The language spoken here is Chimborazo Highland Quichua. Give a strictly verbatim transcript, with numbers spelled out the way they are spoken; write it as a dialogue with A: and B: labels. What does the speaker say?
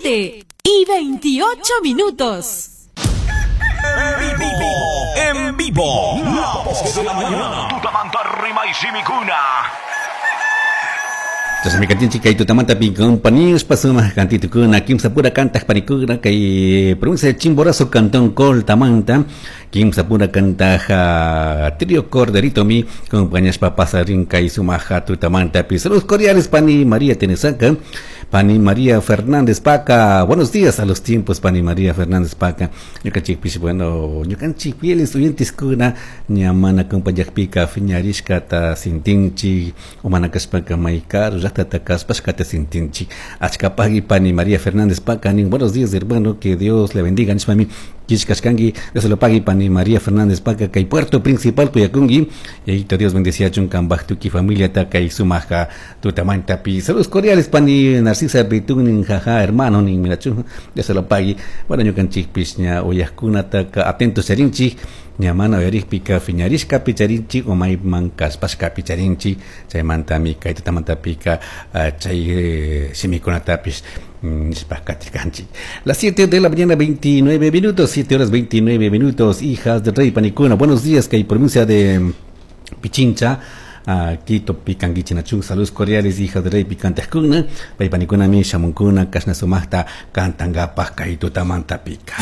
A: Siete y veintiocho minutos.
B: En vivo, en vivo, la voz de la mañana. Tutamanta rima y simikuna.
C: Entonces, mi cantinchi kay tutamanta pi compañías pasuma cantitukuna kimsa pura cantag panikuna kay provincia de Chimborazo cantón Coltamanta kimsa pura cantag trío Corderito mi compañías papasarin kay sumaja tutamanta pi. Saludos cordiales pani María Tenesaca, pani María Fernández Paca. Buenos días a los tiempos pani María Fernández Paca. Ñukanchikpish bueno ñukanchik fieles oyentes kuna ñamana compañakpika fiñarishkata sintinchi umana kashpaka maykar llaqtata kaspashkata sintinchi. Achkapaqui pani María Fernández Paca nin buenos días hermano, que Dios le bendiga nishpami kishkashkanki. Dios lo pague pani María Fernández Paca kay puerto principal Cuyakungi. Y Dios bendeciachun kambaj tuki familia ta kay sumaja tutamantapi. Saludos cordiales pani Narcisa Bitun jaja hermano nin mirachun. Dios lo pague. Bueno ñukanchikpish ña uyajkunataka atentos charinchik ñamana uyarikpika fiñarishka picharinchik o mayman kaspashka picharinchik chaymantami kay tutamantapika chay shimikunatapish nishpa katirkanchik. Las siete de la mañana veintinueve minutos, siete horas veintinueve minutos, hijas del rey panikuna. Buenos días kay provincia de Pichincha, Quito pikankichinachu. Saludos cordiales hijas del rey picantajkuna pay panikuna mi shamunkuna kashna sumaqta kantankapaj kay tutamantapika.